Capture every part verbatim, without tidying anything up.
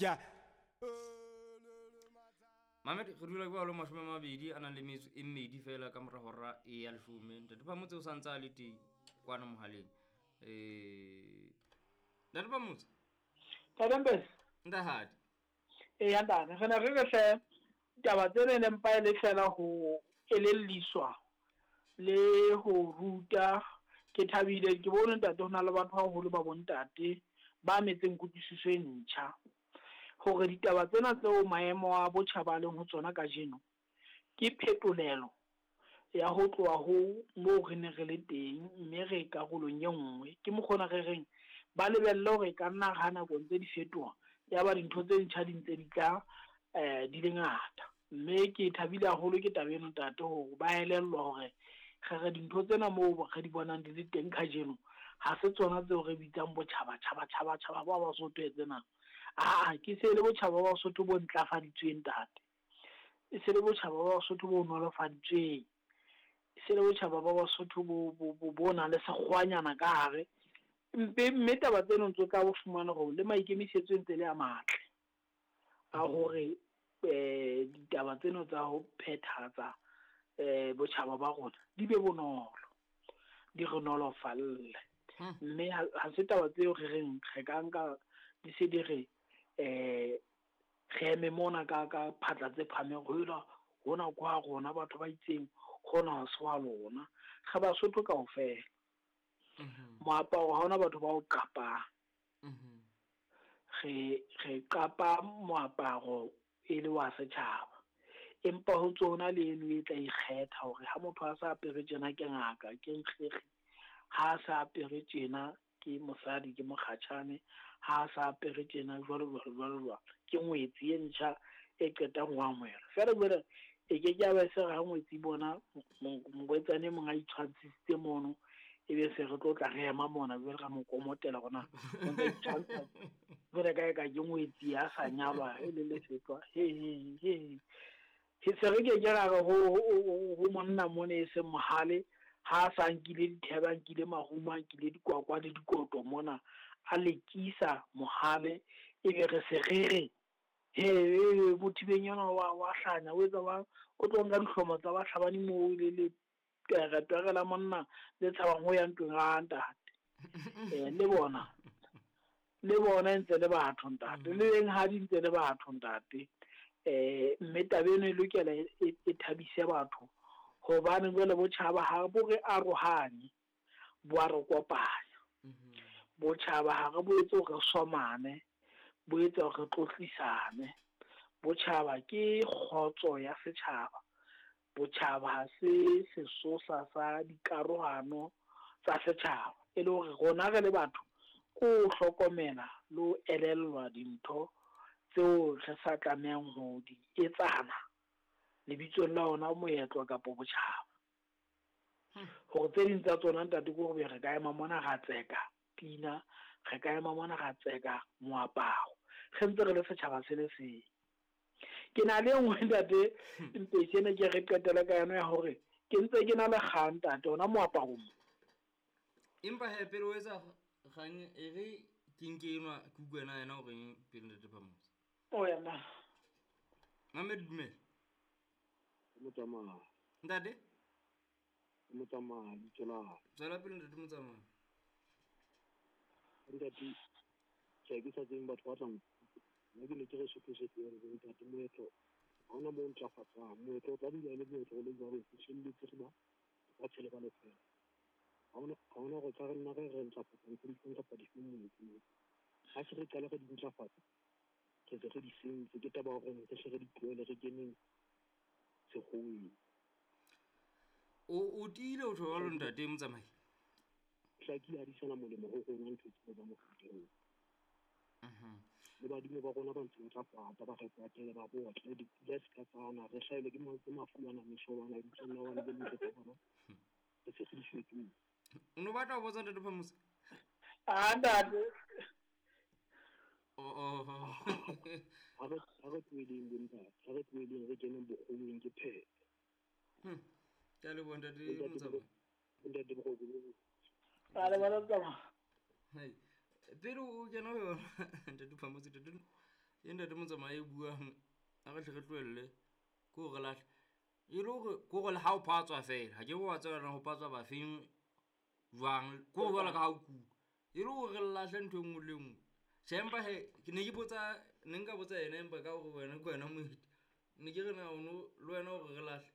Ja. Mamed re dula jwalo mashome a mabedi a nang le metso e mmedi fela ka mora hora e ya leshome. Ntate Phamotse o sa ntse a le teng kwana mohaleng. Eh Ntate Phamotse. Ntate Mpesi. Ntahadi. Eya ntate, re ne re re hle taba tsena ne mpa e le fela ho elelliswa le ho ruta. Ke thabile ke bone ntate ho na le batho haholo ba bontate ba metseng kutlwisiso e ntjha hore ditaba tsena tseo maemo a botjhaba a leng ho tsona kajeno ke phetolelo ya ho tloha ho moo re ne re le teng, mme re karolong e nngwe. Ke mokgona re reng ba lebelle hore e ka nna ha nako ntse di fetoha ya ba dintho tse ntjha di ntse di tla eh di le ngata. Mme ke thabile haholo ke taba eno ntate hore ba elellwa hore re re dintho tsena moo re di bonang di le teng kajeno ha se tsona tseo re bitsang botjhaba tjhaba tjhaba tjhaba ba Basotho tsena. Aa, ke se le botjhaba ba Basotho bo ntlafaditsweng ntate, e se le botjhaba ba Basotho bo nolofaditsweng, e se le botjhaba ba Basotho bo bo bo nang le sekgwanyana ka hare. Mpe mme taba tseno ntse o tla bo fumana hore le maikemisetso ntse le a matle a hore eh ditaba tseno tsa ho phethatsa eh botjhaba ba rona di be bonolo, di re nolofalle. Mme ha se taba tseo re reng re ka nka di se di re eh re eme mona ka ka phatla tse phahameng ho ela hona kwa rona batho ba itseng hona ha se wa lona, re Basotho kaofela. Moaparo ha hona batho ba o qapang, re re qapa moaparo e le wa setjhaba, empa ho tsona le eno e tla ikgetha hore ha motho a sa apere tjena ke ngaka ke nkgekge, ha a sa apere tjena ke mosadi ke mokgatjhane, ha a sa apere tjena jwalo jwalo jwalo jwalo ke ngwetsi e ntjha e qetang ho amohelwa. Feela jwale e ke ke ya ba se re ha ngwetsi bona morwetsana e mong a itshwantshisitse mono, ebe se re tlo tla re ema mona jwale ra mo komotela hore na o ntse a itshwantsha jwale ka eka ke ngwetsi ya sa nyalwa e le lefetwa. He he he he se re ke ke ra re ho ho monna mona e seng mohale ha a sa nkile dithebe, a nkile marumo, a nkile dikwakwa le dikoto mona a lekisa mohale, ebe re se re re he mothibeng yona wa wa hlanya o etsa wa o tlo nka dihlomo tsa bahlabani moo le le twere la monna le tshabang ho ya ntweng a ntate. Eh le bona le bona ntse le batho ntate, le eng ha di ntse le batho ntate. Eh mme taba eno e lokela e thabise batho hobane jwale botjhaba ha bo re arohanye, bo a re kopanya. Botjhaba ha re bo etse hore re somane, bo etsa hore re tlotlisane. Botjhaba ke kgotso ya setjhaba, botjhaba ha se sesosa sa dikarohano tsa setjhaba. E le hore rona re le batho ko hlokomela le ho elellwa dintho tseo re sa tlamehang ho di etsana lebitsong la ona moetlo kapa botjhaba. Hore tse ding tsa tsona ntate ke hore re ka ema mona ra tseka pina, re ka ema mona ra tseka moaparo, re ntse re le setjhaba se le seng. Ke na le e nngwe ntate Mpesi ene ke re qetela ka yona ya hore ke ntse ke na le kgang ntate ona moaparo mo. Empa he pele o etsa kgang e re ke nke enwa ke utlwe yena yena o reng pele ntate Phamotse. O yena. Mamed dumela. Motsamao. Ntate? Motsamao, lebitso la hao. Tswela pele ntate Motsamao. Ntate, tjhe ke sa tsebeng batho ba tla nna ke ne ke re Sotho se tlohele bo ntate moetlo ha hona moo ntlafatsang. Moetlo o tla dula e le moetlo o le jwalo, o fihlelletse re ba lefatshe le ba lefela. Ha hona ha hona hore tla re nna re re ntlafatsa ntho di kapa difeng moetlong. Ha se re qala re di ntlafatsa, re se re di sentse. Ke taba ya hore re hle re di tlohele re keneng sekgoweng. O o tiile o tjho jwalo ntate Motsamai? Hlakile ha di sana molemo ho rona ntho tseo tsa mofuta oo. Le badimo ba rona ba ntse ba tla kwata, ba re kwatele, ba botle, dipula se ka tsana, re hlahelwe ke ma- ke mafu ana, meshobana, lebitsong la hobane le ntho tsa bona re se re di fetohile. O no batla ho botsa ntate Phamotse? Ah ntate. Oh oh. Ha re ha re tlohelleng bo ntate, ha re tlohelleng re keneng bokgoweng ke phetho. Hmm. Ke a leboha ntate Ntate Motsamai. Ntate Boroko bo botle. A le bona Motsamao. Hai. Pele o kena ho yona ntate Phamotse, ntate E ntate Motsamai e buang a re hle re tlohelle ke hore lahle e le hore ke hore le ha o phatswa fela ha ke wa tseba ho patswa ba feng jwang ke hore jwalo ka ha o kuka e le hore re lahle ntho e nngwe le nngwe. Tjhe, empa he ke ne ke botsa ne nka botsa yena empa ka hore wena ke wena moeti ne ke re na o no le wena hore re lahle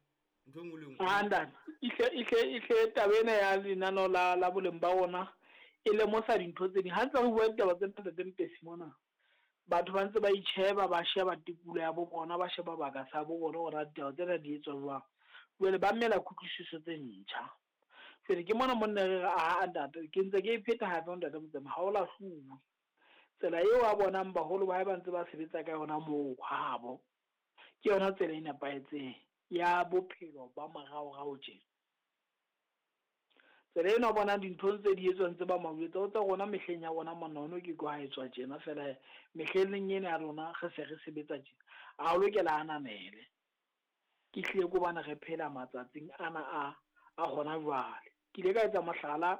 ntho e nngwe le nngwe. Ah ntate, ihle ihle ihle taba ena ya lenaneo la la boleng ba rona e lemosa dintho tse ding. Ha ntse re bua ditaba tsena ntate Mpesi mona, batho ba ntse ba itjheba, ba sheba tikoloho ya bo bona, ba sheba baka sa bo bona hore ditaba tsena di etswa jwang. Jwale ba mmela kutlwisiso tse ntjha. Jwale ke mona monna re re ah ntate, ke ntse ke e pheta hape ntate Motsamai, ha o lahluwe. Tsela eo a bonang baholo ba hae ba ntse ba sebetsa ka yona moo habo, ke yona tsela e nepahetseng ya bophelo ba moraorao tje. Tsela ena o bonang dintho tse di etswang tse ba mawetsa o tsa rona mehleng ya rona monna ono ke kwa etswa tjena fela mehleng ena ya rona re se re sebetsa tjena. A o lokela ananele. Ke hlile ke hobane re phela matsatsing ana a a hona jwale. Ke ile ka etsa mohlala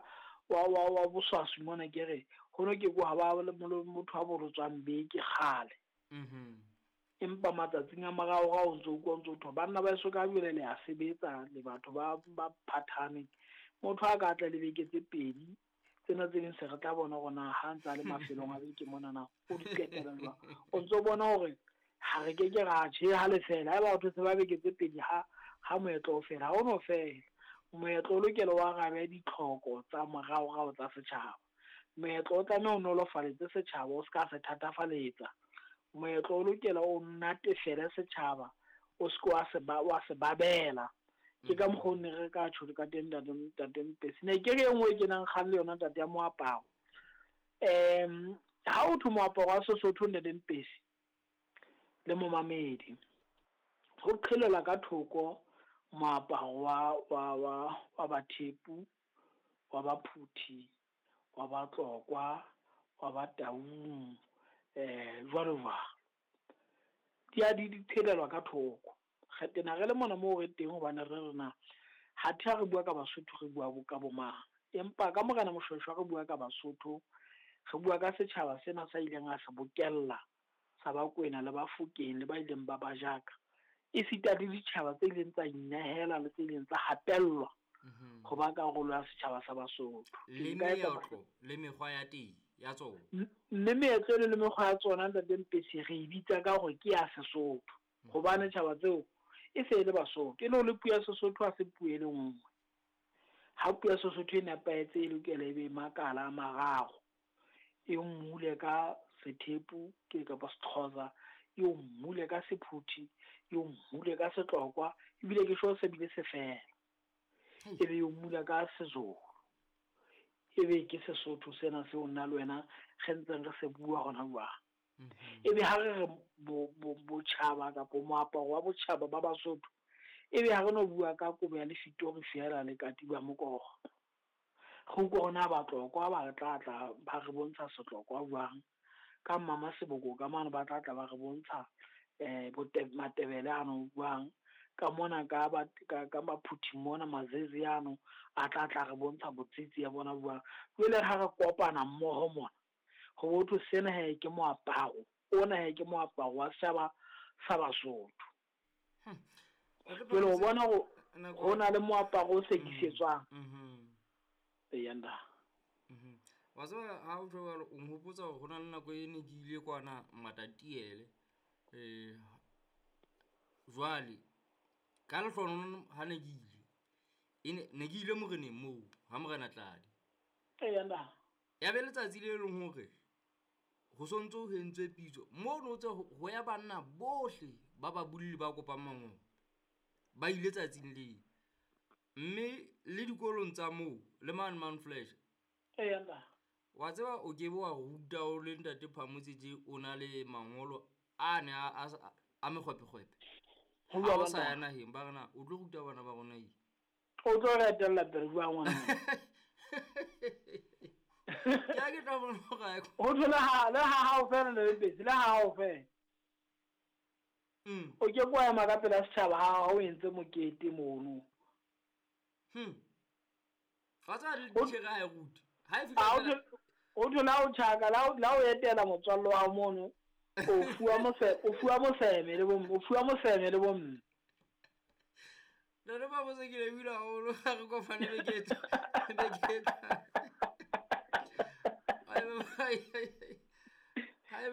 wa wa wa boswaswi mona ke re hono ke kwa ba le motho a bolotswang beke kgale. Mhm. Empa matsatsing a moraorao o ntso utlwa o ntso thwa banna ba eso ka jwale le a sebetsa le batho ba ba phathane. Motho a ka tla le beke tse pedi tsena tse ding se re tla bona hore na ha ntsa le mafelong a beke mona na o di qetela jwang. O ntso bona hore ha re ke ke ra tjhe ha le fela haeba batho se ba beke tse pedi ha ha moetlo o fela ha o no fela. Moetlo o lokela o arabe ditlhoko tsa moraorao tsa setjhaba. Moetlo o tlameha o nolofaletse setjhaba, o ska se thatafaletsa. Moetlo o lokela o natefele setjhaba, o se ke wa se ba wa se babela. Ke ka mokgwa o ne re ka tjho ka teng ntate ntate Mpesi. Ne ke re e nngwe e kenang kgang le yona ntate ya moaparo. Em ha o thwe moaparo wa Sesotho ntate Mpesi le momamedi, ho qhelela ka thoko moaparo wa wa wa wa Bathepu, wa Baphuthi, wa Batlokwa, wa Bataung, eh jwalo jwalo. Di a di di qhelelwa ka thoko. Re tena re le mona moo re teng hobane re re na ha the re bua ka Basotho re bua bo ka bo mang. Empa ka Morena Moshweshwe re bua ka Basotho, re bua ka setjhaba sena sa ileng a se bokella sa Bakwena le Bafokeng le ba ileng ba ba jaka. Esita le ditjhaba tse ileng tsa inehela le tse ileng tsa hapellwa ho ba karolo ya setjhaba sa Basotho. Le meetlo le mekgwa ya teng ya tsona. Mme meetlo le mekgwa ya tsona ntate Mpesi re e bitsa ka hore ke ya Sesotho. Hobane tjhaba tseo e se e le Basotho. E le hore puo ya Sesotho ha se puo e le nngwe. Ha puo ya Sesotho e nepahetse e lokela e be makala a mararo. E mmule ka Sethepu ke kapa Sexhosa, e o mmule ka Sephuthi, e o mmule ka Setlokwa, ebile ke sho se bile se fela. E be o mmula ka Sezulu. E be ke Sesotho sena seo nna le wena re ntseng re se bua hona jwale. E be ha re re bo bo botjhaba kapa moaparo wa botjhaba ba Basotho, e be ha re no bua ka kobo ya lefitori feela le katiba mokoro. Re utlwa hore na Batlokwa ba tla tla ba re bontsha Setlokwa jwang, ka Mama Seboko ka mane ba tla tla ba re bontsha eh Matebele ano jwang, ka mona ka ba ka ka Maphuthi mona Mazezi ano a tla tla re bontsha botsitsi ya bona jwang. Jwale ha re kopana mmoho mona ho botho sena he ke moaparo ona he ke moaparo wa setjhaba sa Basotho. Jwale o bona ho ho na le moaparo o sekisetswang. Mhm. Eyanda. Mhm. Wa tseba ha o tjho jwalo o nhopotsa hore ho na le nako e ne ke ile kwana Matatiele. Eh jwale ka lehlohonolo ha ne ke ile e ne ne ke ile moreneng moo ha Morena Tladi. Eyanda. Ya be letsatsi le leng hore ho sontso ho entswe pitso moo no tse ho ya banna bohle ba ba bulli ba kopang mangolo ba ile tsatsing leo. Mme le dikolong tsa moo le mane Mount Fletcher. Eyanda. Wa tseba o ke be wa ruta o le ntate Phamotse tje o na le mangolo a ne a a a mekgwepekgwepe. Ho Ha bua o sa banna. ya naheng ba re na o tlo ruta bana ba rona eng? O tlo re etella pele jwang ngwana? Ke a ke tla bona hore ha e Ho thwe le ha le ha hao fela le Mpesi, le ha hao fela. Mm. O ke kwa ema ka pela setjhaba ha o entse mokete mono. Hmm. Wa tseba le Ho titjhere ha e rute. Ha e fihla Ha o feela thwe o thwe la o tjhaka la o la o etela motswalle wa hao mono. O fuwa mose o fuwa moseme le bo o fuwa moseme le bo mme. Ntate Phamotse ke lebohile haholo ha re kopane beke e tlang beke e tlang.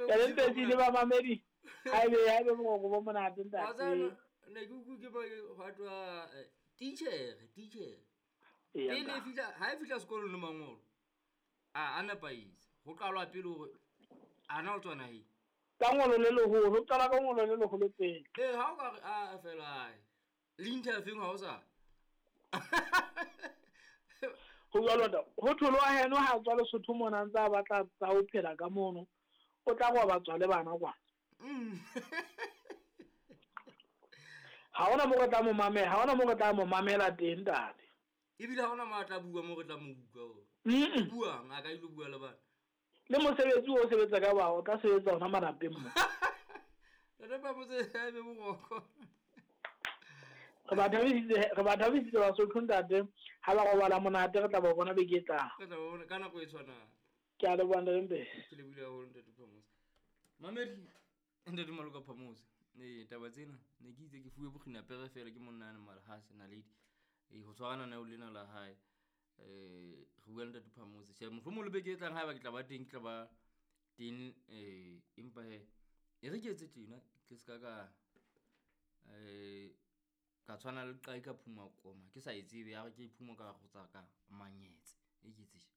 Ntate Mpetsi le bamamedi haebe haebe boroko bo monate Wa tseba ntate. ne ke utlwe ke ba hwa titjhere titjhere Eya pele e ntate. fihla ha e fihla sekolong le mangolo a a nepahetse ho qalwa pele hore ana o tswa naheng. Ka ngolo le leholo, ho qala ka ngolo le leholo pele. Ee, ha o ka re a fela ae le interviewing ha o sa. Ho jwalo ntate. Ho thwe wa heno ha tswa Lesotho mona a ntse a batla tsa ho phela ka mono, o tla robatswa le bana kwana. Mm. Ha hona moo re tla mo mamela, ha hona moo re tla mo mamela teng ntate. Ebile ha hona mo a tla bua mo re tla mo utlwa hore. Mm. Buang a ka ilo bua le bana. Le mosebetsi o sebetsa ka ba o tla sebetsa hona malapeng mo. Ntate Phamotse ha ebe boroko. Re ba thabisitse re ba thabisitse Basotho ntate ha ba robala monate re tla ba bona beke e tlang. Re tla ba bona ka nako e tshwanang. Ke a leboha ntate Mpetsi. Ke lebohile haholo ntate Phamotse. Mamedi ntate Maloka Phamotse. Ee taba tsena ne ke itse ke fuwe bokginapere fela ke monna ane Malhase Naledi. Ee ho tshwarana neo lena la hae. Eh re bua le ntate Phamotse. Tjhe mohlomong le beke e tlang haeba ke tla ba teng ke tla ba teng eh empa hee e re ke etse tjena ke ska ka eh ka tshwana le qai ka phuma koma ke sa e tsebe ya re ke iphuma ka go tsa ka manyetse e ke etse tje.